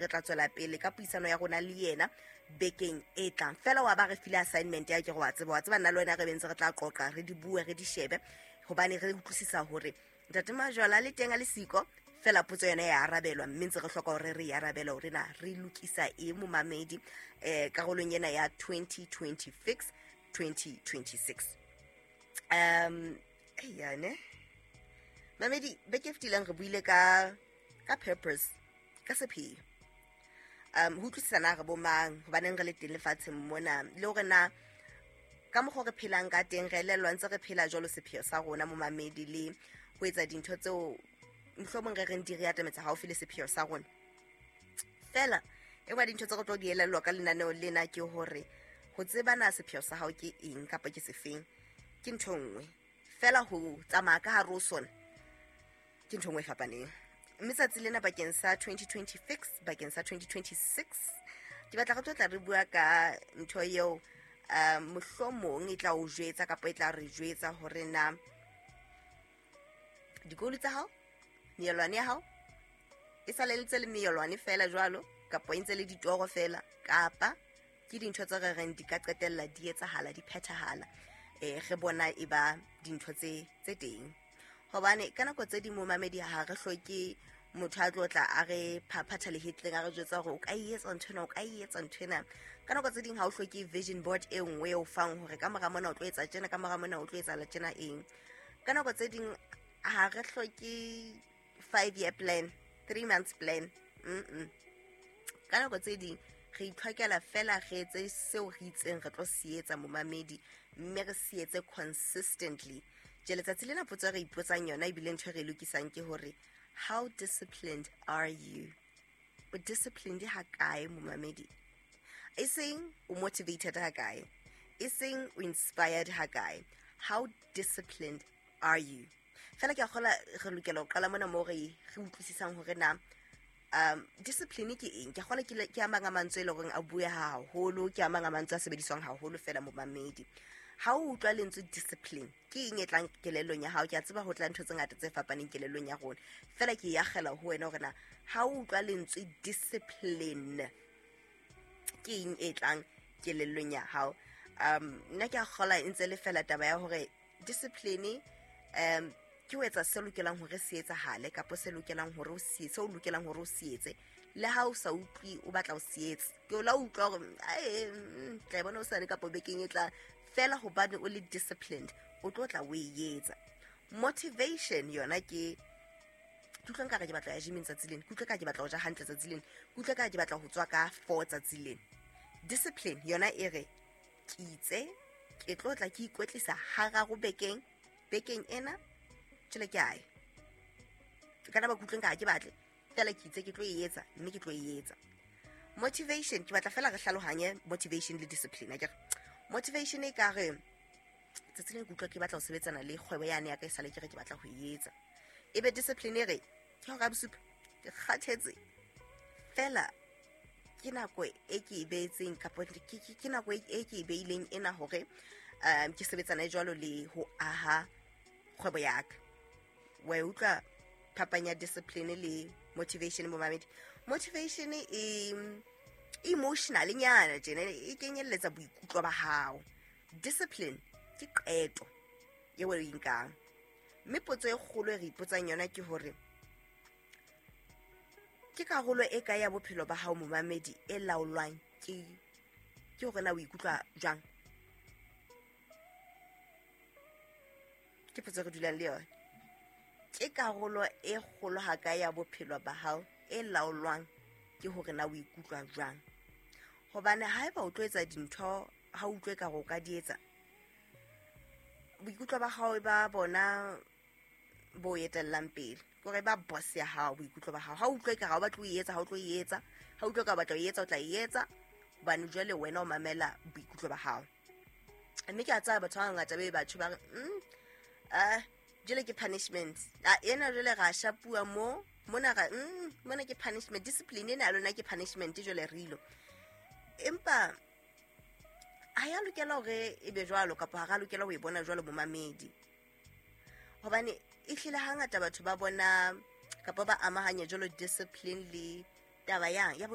Re tla tswela pele ka puisano ya rona le yena bekeng e tlang. Fela wa ba re file assignment ya ke go wa tseba, wa tseba nna le wena re bentse re tla qoqa, re di bue, re di shebe, hobane re utlwisisa hore Ntate Majwala le teng a le siko. Fela potso yona ya arabelwa, mme ntse re hloka hore re e arabele hore na re lokisa eng momamedi karolong ena ya 2026 2026. Yane mamedi, beke e fetileng re buile ka purpose, ka sepheo, ho utlwisisa na re bo mang, hobaneng re le teng lefatsheng mona, le hore na ka mokgwa re phelang ka teng re elellwa ntse re phela jwalo sepheo sa rona momamedi, le ho etsa dintho tseo mohlomong re reng di re atametsa haufi le sepheo sa rona. Fela e nngwe ya dintho tse re tlo di elellwa ka lenaneo lena ke hore ho tseba na sepheo sa hao ke eng kapa ke sefeng ke ntho nngwe, fela ho tsamaya ka hare ho sona ke ntho nngwe e fapaneng. Mme tsatsi lena bakeng sa 2026, bakeng sa 2026, ke batla re tlo tla re bua ka ntho eo mohlomong e tla o jwetsa kapa e tla re jwetsa hore na dikolo tsa hao, meelwane ya hao e saleletse le meelwane fela jwalo, kapa e ntse le ditoro fela, kapa ke dintho tse re reng di ka qetella di etsahala, di phethahala, re bona e ba dintho tse teng. Hobane ka nako tse ding momamedi ha re hloke motho a tlo tla a re phaphatha lehetleng a re jwetsa hore o ka e etsa ntho ena, o ka e etsa ntho ena. Ka nako tse ding ha o hloke vision board e nngwe e o fang hore ka mora mona o tlo etsa tjena, ka mora mona o tlo etsahala tjena eng. Ka nako tse ding ha re hloke 5-year plan, 3 months plan. Ka nako tse ding re itlhokela fela re etse seo re itseng re tlo se etsa momamedi, mme re se etse consistently. Tje letsatsi lena potso e re ipotsang yona ebile ntho e re e lokisang ke hore how disciplined are you? O disciplined ha kae momamedi? E seng o motivated ha kae, e seng o inspired ha kae. How disciplined are you? Fela ke a kgola re lokela ho qala mona moo re utlwisisang hore na discipline ke eng. Ke a kgola ke a mang a mantswe e leng hore a bueha haholo, ke a mang a mantswe a sebediswang haholo fela momamedi. Ha o utlwa lentswe discipline, ke eng e tlang kelellong ya hao? Ke a tseba ho tla ntho tse ngata tse fapaneng kelellong ya rona, fela ke e akgela ho wena hore na ha o utlwa lentswe discipline ke eng e tlang kelellong ya hao. Nna ke a kgola e ntse le fela taba ya hore discipline ke ho etsa se lokelang hore se etsahale, kapa se lokelang hore o se etse, o lokelang hore o se etse, le ha o sa utlwe o batla o se etse. Ke o la utlwa hore, ae, tla e bona hosane kapa bekeng e tlang, fela hobane o le disciplined o tlo tla o e etsa. Motivation yona ke utlwa nkare ke batla ya gyming tsatsi lena, ke utlwa ka ke batla ho ja hantle tsatsi lena, ke utlwa ka ke batla ho tswa ka 4 tsatsi lena. Discipline yona e re ke itse ke tlo tla ke ikwetlisa hararo bekeng, bekeng ena tjhele ke ae. Ke kana ba kutlweng ka ha ke batle, fela ke itse ke tlo e etsa, mme ke tlo e etsa. Motivation, ke batla fela re hlalohanye motivation le discipline, akere? Motivation e ka re tsatsi le ke utlwa ke batla ho sebetsana le kgwebo yane ya ka e sale ke re ke batla ho e etsa. Ebe discipline e re ke hora ya bosupa, ke kgathetse fela, ke nako e ke e beetseng kapa ke nako e ke e beileng ena hore ke sebetsane jwalo le ho aha kgwebo ya ka. Wa e utlwa phapang ya discipline le motivation momamedi? Motivation e emotional nyana tjena, e kenyelletsa boikutlo ba hao. Discipline ke qeto eo o e nkang. Mme potso e kgolo e re ipotsang yona ke hore ke karolo e kae ya bophelo ba hao momamedi e laolwang ke hore na o ikutlwa jwang? Ke potso e re dulang le yona. Ke karolo e kgolo ha kae ya bophelo ba hao e laolwang ke hore na o ikutlwa jwang? Hobane haeba o tlo etsa dintho ha o utlwe ekare o ka di etsa, boikutlo ba hao ba bona bo etellang pele, ke hore ba boss ya hao boikutlo ba hao. Ha o utlwe ekare ha o batle ho e etsa, ha o tlo e etsa. Ha o utlwe ekare o batla ho e etsa, o tla e etsa, hobane jwale wena o mamela boikutlo ba hao. Mme ke a tsaya batho ba bangata be batho ba re, jwale ke punishment. A ena jwale ra shapuwa mo, mona ra, mona ke punishment. Discipline ena ya lona ke punishment jwale re ilo. Empa ha ya lokela hore e be jwalo, kapa ha ra lokela ho e bona jwalo momamedi. Hobane e hlile hangata batho ba bona kapa ba amahanya jwalo discipline le taba yang ya bo